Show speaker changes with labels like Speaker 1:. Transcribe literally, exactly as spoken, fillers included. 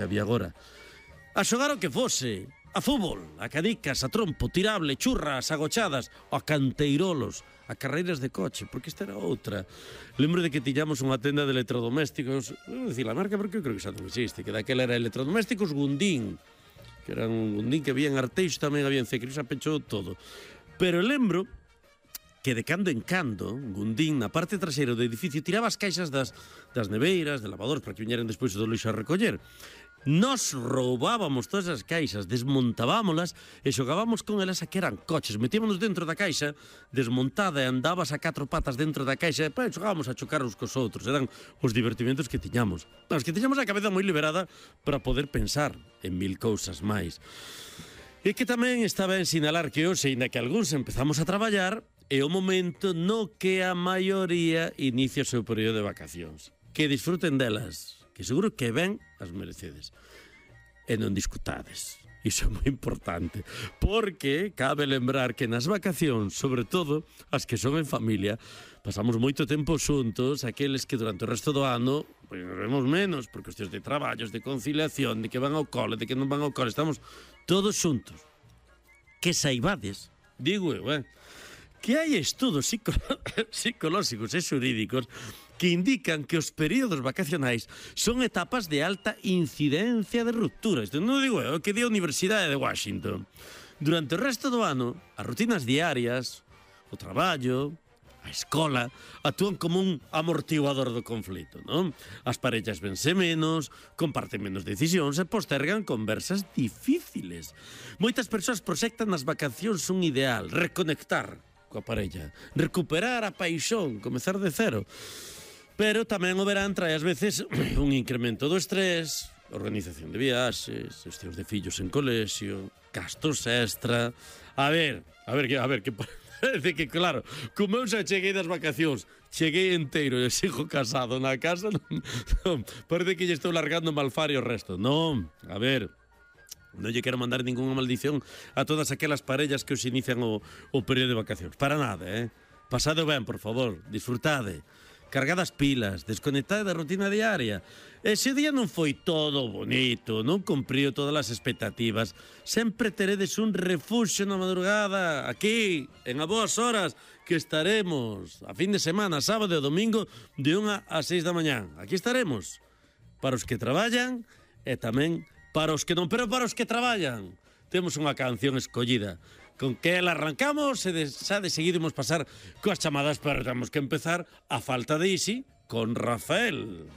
Speaker 1: había agora. A xogar o que fose, a fútbol, a cadicas, a trompo, tirable, churras, agochadas, a canteirolos, a carreiras de coche, porque esta era outra. Lembro de que tiñamos unha tenda de electrodomésticos, non dicir a marca porque eu creo que xa non existe, que daquela era electrodomésticos Gundín, que era un Gundín que había en Arteixo, tamén había en Cecris, xa pechou todo. Pero lembro que de cando en cando, Gundín, na parte traseira do edificio, tiraba as caixas das, das neveiras, de lavadores, para que viñeran despois do lixo a recoller. Nos roubábamos todas as caixas, desmontábamolas e xogábamos con elas a que eran coches. Metíamonos dentro da caixa, desmontada, e andabas a catro patas dentro da caixa e pues, xogábamos a chocar uns cos outros. Eran os divertimentos que tiñamos. Os que tiñamos a cabeza moi liberada para poder pensar en mil cousas máis. E que tamén estaba en sinalar que hoxe, ainda que algúns empezamos a traballar, é o momento no que a maioría inicia o seu período de vacacións. Que disfruten delas, que seguro que ben as merecedes. E non discutades. Iso é moi importante. Porque cabe lembrar que nas vacacións, sobre todo as que son en familia, pasamos moito tempo xuntos, aqueles que durante o resto do ano pois nos vemos menos, por cuestións de traballos, de conciliación, de que van ao cole, de que non van ao cole, estamos todos xuntos. Que saibades, digo eu, eh? que hai estudos psico psicolóxicos e xurídicos que indican que os períodos vacacionais son etapas de alta incidencia de ruptura. Isto non digo eu, que di a Universidade de Washington. Durante o resto do ano, as rutinas diarias, o traballo, a escola, actúan como un amortiguador do conflito, non? As parellas vense menos, comparten menos decisións e postergan conversas difíciles. Moitas persoas proxectan nas vacacións un ideal, reconectar coa parella, recuperar a paixón, comezar de cero. Pero tamén o verán trae ás veces un incremento do estrés, organización de viaxes, gestións de fillos en colexio, gastos extra. A ver, a ver, a ver, que parece que, claro, como eu xa cheguei das vacacións, cheguei inteiro e sigo casado na casa, non, non, parece que lle estou largando malfario o resto. Non, a ver, non lle quero mandar ninguna maldición a todas aquelas parellas que os inician o, o período de vacacións. Para nada, eh? Pasade ben, por favor, disfrutade. Cargade as pilas, desconectade da rutina diaria. E se o día non foi todo bonito, non cumpriu todas as expectativas, sempre teredes un refuxio na madrugada, aquí, en a boas horas, que estaremos a fin de semana, sábado e domingo, de unha a seis da mañán. Aquí estaremos, para os que traballan e tamén para os que non, pero para os que traballan. Temos unha canción escollida con que ela arrancamos e de, xa de seguido imos pasar coas chamadas, pero temos que empezar a falta de Isi con Rafael.